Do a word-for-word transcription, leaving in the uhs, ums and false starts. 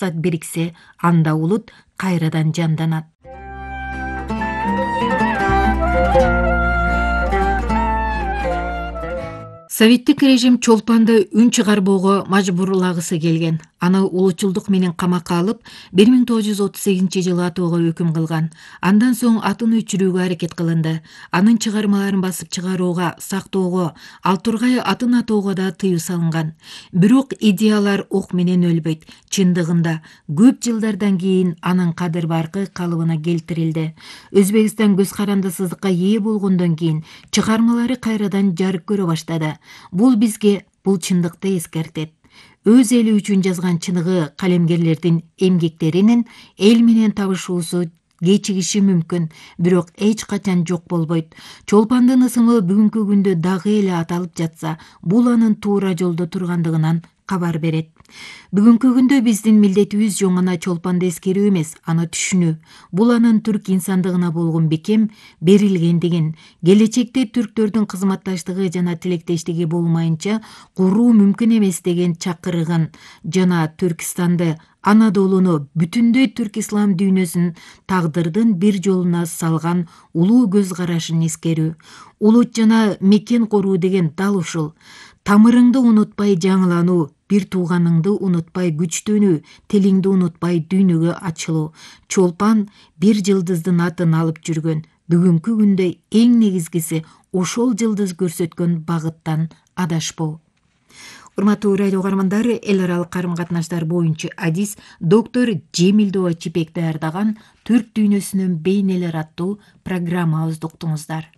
максат бириксе, анда улут кайрадан жанданат. Советтик режим Чолпанды үн чыгарбоого мажбурлагысы келген. Аны улутчулдук менен камакка алып, бир миң тогуз жүз отуз сегизинчи жылы атууга өкүм кылган. Андан соң атын өчүрүүгө аракет кылынды. Анын чыгармаларын басып чыгарууга, сактоого, ал тургай атын атоого да тыюу салынган. Бирок идеялар ок менен өлбөйт. Чындыгында көп жылдардан кийин анын кадыр баркы калыбына келтирилди. Өзбекстан көз карандысыздыкка ээ болгондон кийин чыгармалары кайрадан жарык көрө баштады. Бул бизге бул чындыкты эскертет. Өз эли үчүн жазган чыныгы калемгерлердин эмгектеринин эл менен табышуусу кечигиши мүмкүн, бирок эч качан жок болбойт. Чолпандын ысымы бүгүнкү күндө дагы эле аталып жатса, бул анын туура жолдо тургандыгынан кабар берет. Бүгүнкү күндө биздин милдетибиз жөн гана Чолпанды эскерүү эмес, аны түшүнүү. Бул анын түрк инсандыгына болгон бекем берилгендигин, келечекте түрктөрдүн кызматташтыгы жана тилектештиги болмайынча куруу мүмкүн эмес деген чакырыгын жана Түркистанды, Анадолуну, бүтүндөй түрк ислам дүйнөсүн тагдырдын бир жолуна салган улуу көз карашын эскерүү. Улут жана мекен коруу деген дал ушул. Тамырыңды унутпай жаңылануу, бир тууганыңды унутпай күчтөнүү, тилиңди унутпай дүйнөгө ачылуу. Чолпан бир жылдыздын атын алып жүргөн. Бүгүнкү күндө эң негизгиси ошол жылдыз көрсөткөн багыттан адашпоо. Урматтуу радио угармандар, эл аралык карым катнаштар боюнча адис доктор Жемилдова Чипек даярдаган Түрк дүйнөсүнүн бейнелери аттуу программабызды уктуңуздар.